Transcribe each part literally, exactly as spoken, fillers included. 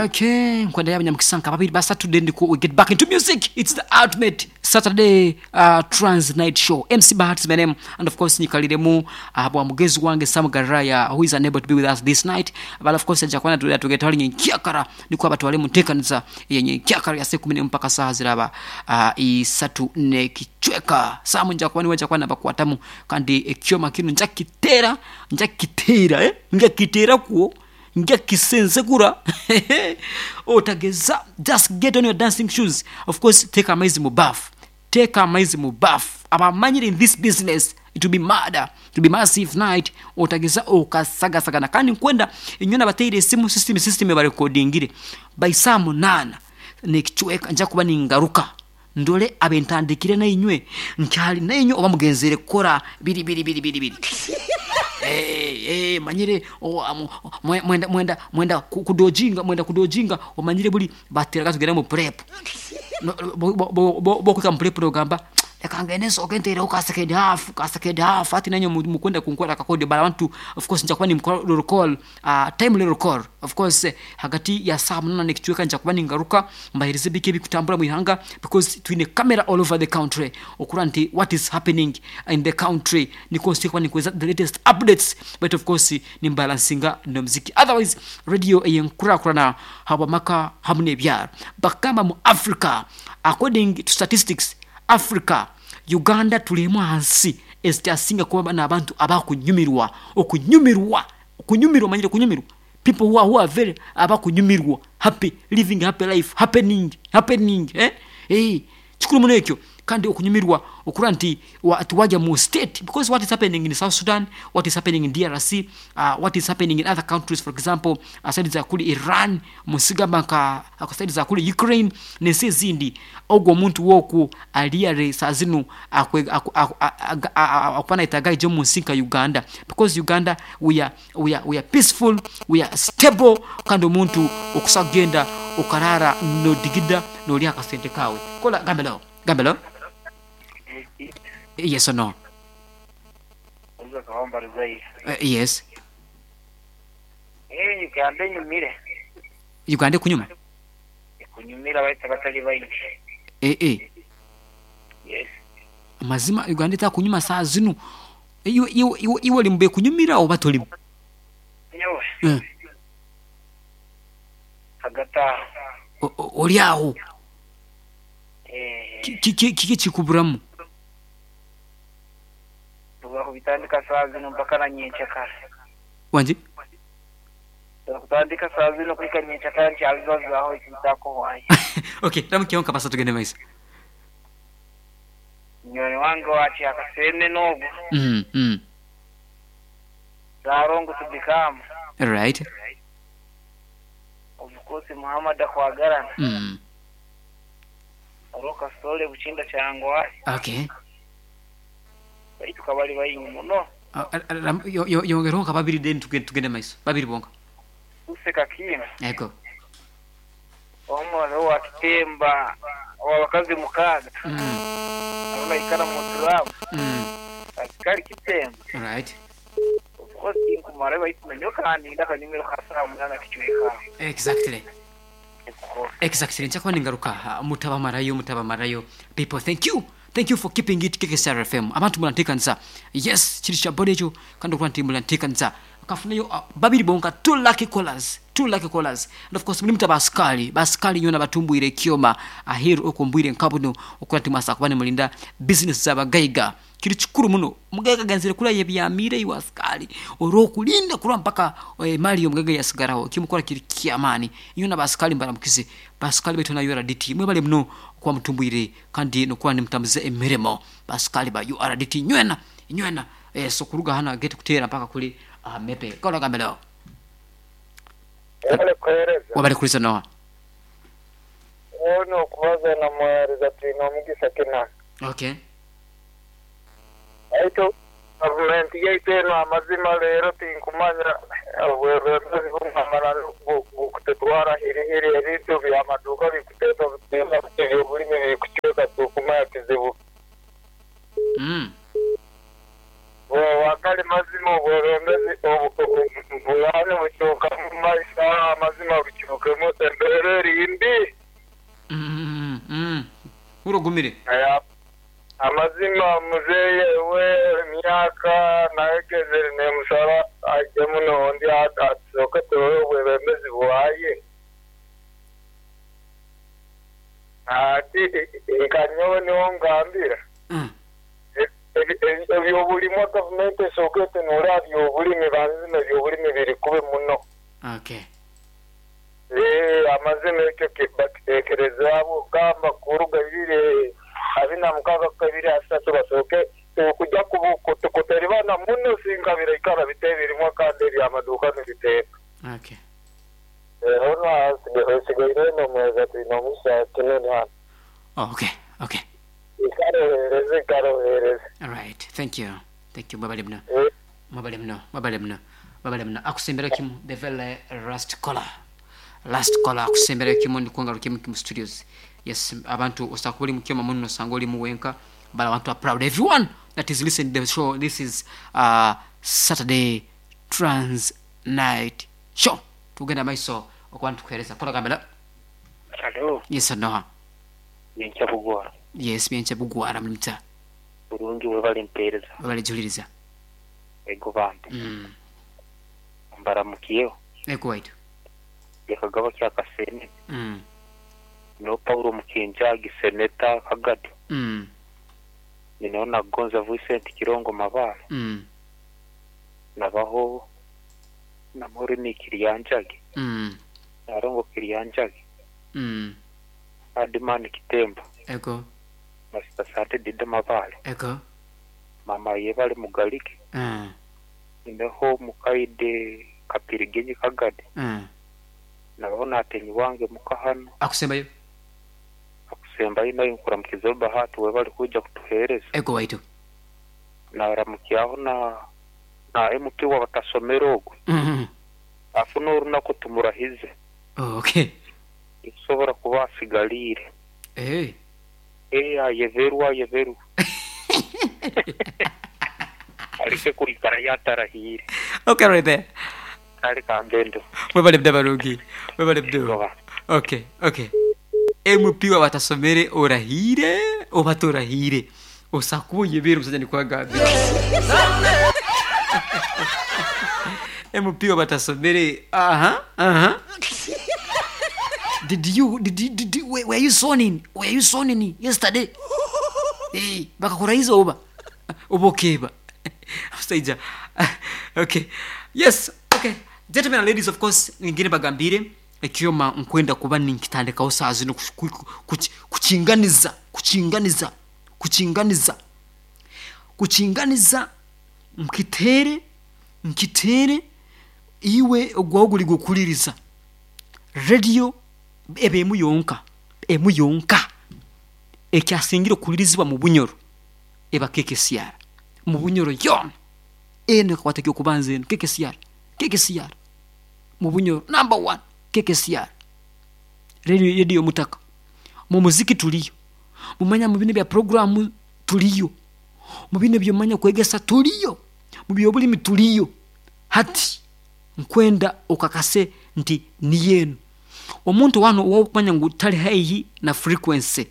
Okay, nkwenda yabanyamukisa nka babiri basatu, then we get back into music. It's the ultimate Saturday uh, trans night show. M C Bahati is my name, and of course nyikaliremu uh, bwa mugezi wange Sam Garaya, who is unable to be with us this night, but of course ajja kwana tugetwali nyenkyakara niko abatwale mu nteekaniza yenyenkyakara ya sekumi mpaka saa ziraba uh, isatu ne kichweka. Sam nja kwani waja kwana bakwatamu kandi ekyoma kino nja kitera nja kitera eh nja kitera kuo nja kisensekura otageza. Just get on your dancing shoes. Of course take amaizi mu bath, take amaizi mu bath. Abamanyire in this business it will be murder, it will be massive night. Otageza okasagasagana kandi nkwenda inyona bateire esimu system system ba recordingire by saa munana nekichweka nja kuba ningaruka ndole abentandikire na inywe nkyali na inywe oba mugenzere kora biri biri biri biri biri. Eh eh manyire mwenda mwenda mwenda kudojinga mwenda kudojinga omanyire buli batera katugera mu prep bo kwika mu prep rogamba ekangene so kentere ka second half ka second half ati nanyo mukwenda kunkwara kakode but I want to of course nja kuba ni recall uh, time recall of course hagati ya saa munana nekichweka nja kuba ningaruka mbahirize bike bikutambura muihanga because twine camera all over the country okura nti what is happening in the country niko sikuwa nikweza the latest updates, but of course ni balancinga no muziki. Otherwise radio eyenkura kurana habamaka hamune byar bakamba mu Africa according to statistics Africa Uganda tulimu hansi ezitasinga kuba n'abantu abakunyumirwa okunyumirwa okunyumirwa manyire kunyumirwa people who are, who are very abakunyumirwa happy living happy life happening happening eh eh kikuru muno ekyo kandi okunyumirwa okura nti tuwaja mu state because what is happening in South Sudan, what is happening in D R C, uh, what is happening in other countries, for example aside za kuli Iran musigamba nka aside za kuli Ukraine n'ensi ezindi ogwo omuntu woku aliyare sazinu akwana itagaije mu nsi nka Uganda because Uganda we are we are we are peaceful, we are stable kandi omuntu okusagenda okarara no digida no lya kasente kawe kola gambelo gambelo. Yes or no? Uh, yes. Eh, Uganda nyumire. Uganda kunyuma? Kunyumira baita batali baingi. Eh eh. Yes. Mazima Uganda ta kunyuma saa zinu. Iwe iwe iwe limbe kunyumira oba tolimu? Nyowe. Eh. Hagata. Oli aho. Eh. Kiki kiki kikuburamu? Kubitandika saa zino mpaka na nyenchakara. Wanje? Kutandika saa zino kwika nyenchakara nchabibazaho ikitako wayi. Okay, ramukiyonka basa tugende maisa. Nyoni wange wachi akasene nogo. Mm mm. Zarongo tubikama. Right. Of course Muhammad akwagarana. Mm. Aroka sole buchinda chango wayi. Okay. Tukabali bayingi muno. Yo yongeronka babiri then tugende tugende maiso. Babiri bonka. Useka kina. Ego. Omwana wa kitemba wabakazi mukaga. Mm. Abona ikara mu turabu. Mm. Akari kitemba. Right. Of course inkumara bayimenyo kandi ndaka nimero khasara munana kichweka. Exactly. Exactly. Nchakwa ningaruka mutaba marayo mutaba marayo. People, thank you. Thank you for keeping it K K S R F M. Abantu mulantekanza. Yes, chiri cha bodejo kandi okulanti mulantekanza. Kafunayo uh, babiri bonka two lucky callers, two lucky callers. And of course mulimta baskali, baskali nyona batumbwire kioma ahiru okumbwire nkabuno okulanti masa kubane mulinda business zabagaiga. Kiri chikuru muno mugaiga ganzire kula yebyamire iwa askari orokulinda kula mpaka e, mali yo mugaiga yasigaraho kimukora kiri kiamani nyona baskali mbaramukize baskali betu na U R D T mwebale muno kwa mtumbwire kandi nokuwa nimtamze emirimo baskali ba U R D T nywena nywena eh, so kuruga hana get kutera mpaka kuli uh, mepe kola gambelo wabale kuhereza wabale kulisa noa ono kubaza na mwereza tino mugisa kina. Okay. Aito gavumenti yaitu eno amazima leero tinkumanya obwebembezi bumamala bukutetwara hirihiri ebintu byamaduuka bikuteeta ebyobulimi bikucweka tukumanya kizibu. Mm. Wakali mazima obwebembezi obulani bukyuka mu maisha amazima bukyukemu. Ogumire. Aya, amazima muzeeye we emyaka nayegezere nemusaba ajje muno ndi atusooke turole obwebembezi bwaye. Ati nka nyowe niho ngambira. Mm. Ebyobulimu gavumenti esooke etunule byobulimi banzima ebyobulimi biri kubi muno. Okay. Eh, amazima ekyo bakiteekerezaabo gamba kuruga bibiri abiri na mukaaga kabiri asatu basooke okujja kuteribana muno singa biraikara biteebirimwa kandi ebyamaduuka nibiteeka. Okay. Ono asigaire nomweza tulina omusa kinene hano. Oh, okay. Okay. Ikarohereze ikarohereze. All right. Thank you. Thank you. Mwebale muno. Eh, Mwebale muno. Mwebale muno. Mwebale muno. Akusembera kimu the very last caller. Last caller akusembera kimu ndikwanga rukimu kimu studios. Yes, abantu osanga oli mukyoma muno osanga oli muwenka but I want to proud everyone that is listening to the show. This is uh, Saturday Trans Night Show. Tugenda maiso okuba nitukuhereza. Kola gambela. Alo, Yes, Noah. yenkya bugwara. Yes, byenkya bugwara mulimta. Bulungi webale mpeereza. Webale juliriza. Ego bambi. Mm. Mbaramukiyeho. Ego waitu. Yakagaba kya Kasene. Mm. No Paulo Mukinjagi Seneta Kagado. Mm. Ninaona Gonza Vincent Kirongo Mabala. Mm. Nabaho na Morini Kiriyanjagi. Mm. Narongo Kiriyanjagi. Mm. Adimani Kitembo. Ego. Masita Sante Dida Mabale. Ego. Mama yebale Mugalike. Mm. Nineho Mukaide Kapirigenyi Kagade. Mm. Nabaho natenyi wange mukahano. Akusembayo. Akusembayo nayo nkuramukiza Bahati webale kuja kutuhereza. Ego waitu. Naramukiyaho na na M P wa batasomera ogwo. Mm. Afu n'orunaku tumurahize. Oh, okay. Nkusobora kuba asigaliire. Hey. Eh, ayeverwa ayeverwa. Alike kuikara yatarahiire. Okay, right there. Kale kangendo. Mwebale mda barungi. Mwebale mdo. Goba. Okay, okay. M P wa batasomere orahire oba torahire. Osakuba yebera omusajja nikwagambira. M P wa batasomere. Aha, aha. Did you did you, did you, were you sworn in? Were you sworn in yesterday? Eh, bakakurahiza oba oba okeba. Omusajja. Okay. Yes, okay. Gentlemen and ladies, of course, ngine bagambire ekyoma nkwenda kuba ninkitandikaho saa zino kukinganiza kukinganiza kukinganiza kukinganiza nkitere nkitere iwe ogwaho guli gukuliriza radio ebe emu yonka emu yonka ekyasingira okulirizibwa mu Bunyoro eba K K C R mu Bunyoro yona eno kakwata okubanza eno K K C R K K C R mu Bunyoro number one K K C R radio radio mutaka mu muziki tuliyo mumanya mu bino bya programu tuliyo mu bino byomanya kwegesa tuliyo mu byobulimi tuliyo hati nkwenda okakase nti ni yenu omuntu wano wokumanya ngu tali haihi na frequency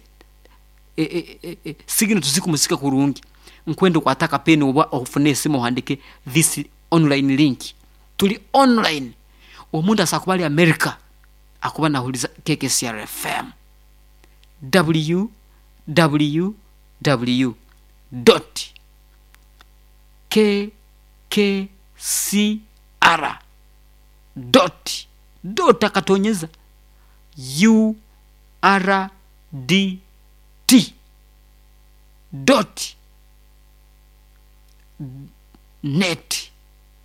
e, e, e, e, signal tuzikumusika kurungi nkwenda okwataka peni oba ofune esimu ohandike this online link tuli online omuntu asakuba ali America akuba nahuliza K K C R F M w w w dot k k c r dot dot akatonyeza u r d t dot net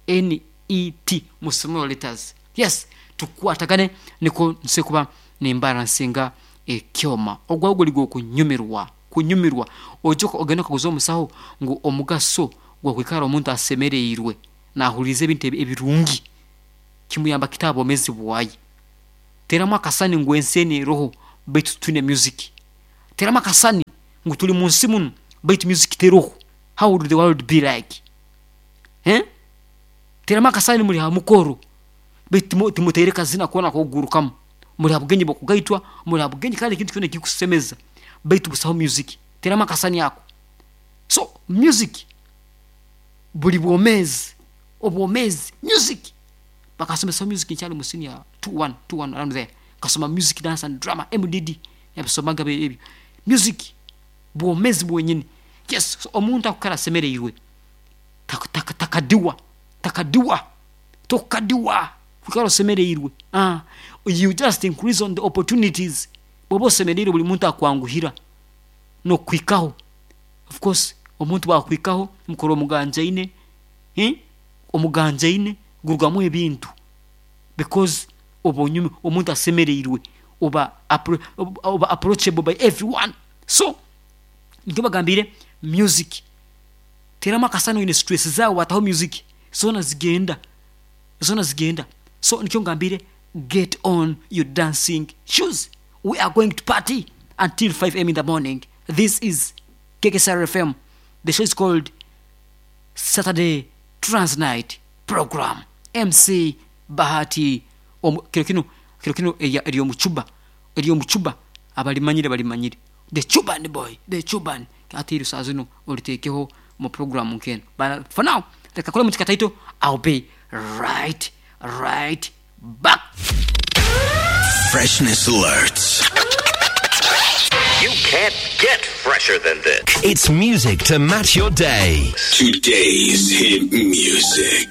n e t mu small letters. Yes, tukwatagane niko nsekuba nembara nsinga ekyoma ogwa guli kunyumirwa kunyumirwa ojoka ogenda kaguza omusaho ngu omugaso gwa kwikara omuntu asemereirwe nahulize ebintu ebirungi kimuyamba kitabo mezi bwayi teramu akasani ngu enseni roho baitu tune music teramu akasani ngu tuli mu nsi muno baitu music teroho. How would the world be like? Eh, teramu akasani muri ha mukoro baitu timutereka zina kuona kugurukamu muri ha bugenyi bokugaitwa muri ha bugenyi kandi kintu kyona kikusemeza Baitu busaho music. Teramu akasani ako. So music buli bwomezi, obwomezi music. Bakasomesa music nkyali mu senior two one, two one around there. Kasoma music, dance and drama, M D D. Yabisomaga ebyo. Music bwomezi bwenyini. Yes, so omuntu akukara semereirwe. Tak, tak, takadiwa, takadiwa, tokadiwa. Kukara semereirwe. Ah, you just increase on the opportunities. Bobo semereirwe buli muntu akwanguhira no kwikaho. Of course, omuntu bakwikaho mukoro omuganjaine, eh? Omuganjaine gurugamu ebintu. Because obonyume omuntu asemereirwe oba appro-, oba approachable by everyone. So ndio bagambire music. Teramu akasano ine stress zao wataho music. Zona zigenda. Zona zigenda. So nikyo ngambire get on your dancing shoes. We are going to party until five A M in the morning. This is K K S R F M. The show is called Saturday Trans Night Program. M C Bahati. Omu, kiro kino, kiro kino eya, eri omuchuba. Eri omuchuba. Abalimanyire balimanyire. The Chuban boy, the Chuban. Ati iri saa zino olitekeho mu program nkeno. But for now, reka kole mutika title, I'll be right, right back. Freshness alerts. You can't get fresher than this. It's music to match your day. Today's hit music.